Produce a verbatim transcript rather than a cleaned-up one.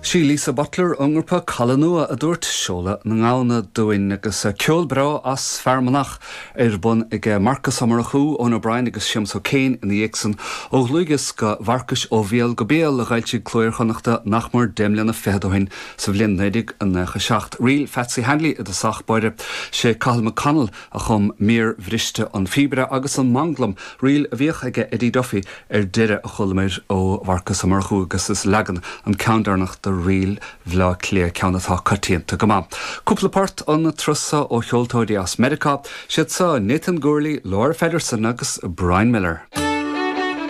Sí Lisa Butler ón ngrúpa Caladh Nua a dúirt seoladh na ngamhna dúinn agus ceol breá as Fear Manach ar bun ag Marcas Ó Murchú Eoin O'Brien agus Séamus O'Kane ina dhiaidh san ó dhlúthdhiosca Mharcais ó bhéal go béal a d'fhoilsigh Cló Iar-Chonnachta nach mór deich mbliana fichead ó shin sa bhliain naoi déag nócha seacht. Ríl Patsy Hanley i dtosach báire sé Cathal McConnell a chum mír bhriste an phíobaire agus an manglam ríl a bhíodh aige Eddie Duffy ar deireadh a chualamar ó Mharcas Ó Murchú agus is leagan an ceann deireanach de ríl Bhleá Cliath ceann atá coitianta go maith. Cúpla port an turas seo ó cheoltóirí as Meiriceá, siad seo Nathan Gourley, Laura Feddersen agus Brian Miller.